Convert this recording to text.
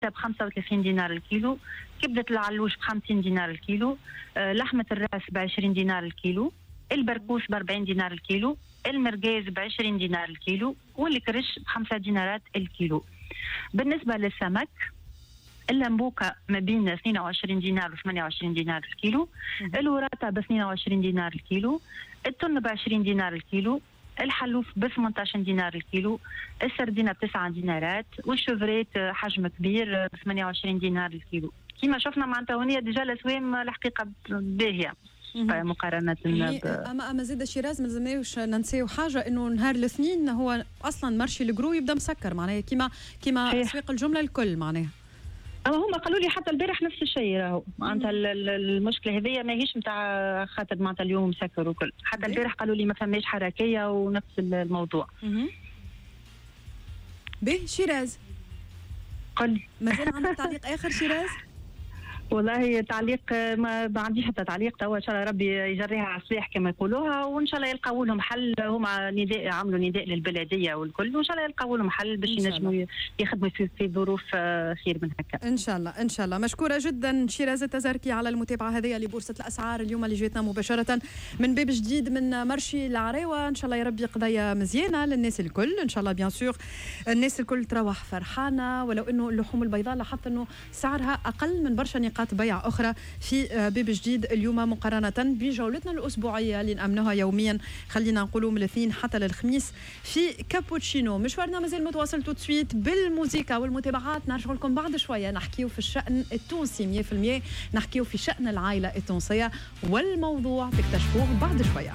ب 35 دينار الكيلو، كبدة العلوش ب 50 دينار الكيلو، لحمة الراس ب 20 دينار الكيلو، البركوس ب 40 دينار الكيلو، المرقاز ب 20 دينار الكيلو، والكرش ب 5 دينارات الكيلو. بالنسبة للسمك، اللمبوكة ما بين 22 دينار و 28 دينار الكيلو، الوراطة ب 22 دينار الكيلو، التن ب 20 دينار الكيلو، الحلوف ب 18 دينار الكيلو، السردينة ب 9 دينارات، وال chevrette حجم كبير ب 28 دينار الكيلو. كما شفنا معناتها هونية déjà الاسوام الحقيقة باهيه مقارنة. اما زاد شيراز، ما لازمناش ننساو حاجه، انه نهار الاثنين هو اصلا marché ال gros يبدا مسكر، معناها كيما اسواق الجملة الكل معناها. اما هما قالوا لي حتى البارح نفس الشيء، راهو معناتها المشكلة هذيا ماهيش نتاع خاطر معناتها اليوم مسكر وكل، حتى البارح قالوا لي ما فماش حركية ونفس الموضوع. به شيراز. قل. مازال عندك تعليق اخر شيراز؟ والله تعليق ما عنديش حتى تعليق توا. ان شاء الله ربي يجريها على الصباح كما يقولوها، وان شاء الله يلقاو لهم حل. هما نداء، عملوا نداء للبلديه والكل، وان شاء الله يلقاو لهم حل باش ينجموا يخدموا في ظروف خير من هكا. ان شاء الله، ان شاء الله. مشكورة جدا شيراز التزركي على المتابعة هذه لبورصه الاسعار اليوم اللي جاتنا مباشرة من باب جديد من marché العراوه. ان شاء الله يا ربي قضية مزيانه للناس الكل، ان شاء الله bien sûr الناس الكل تروح فرحانه، ولو انه اللحوم البيضاء لاحظت انه سعرها اقل من برشا نقاط بيع اخرى في باب جديد اليوم مقارنة بجولتنا الاسبوعية اللي نامنوها يوميا، خلينا نقولوا من الاثنين حتى للخميس في كابوتشينو. مشوارنا مازال متواصل tout de suite بالموسيقى والمتابعات. نرجع لكم بعد شويه، نحكيو في الشان التونسي 100%، نحكيو في شان العائلة التونسية، والموضوع تكتشفوه بعد شويه.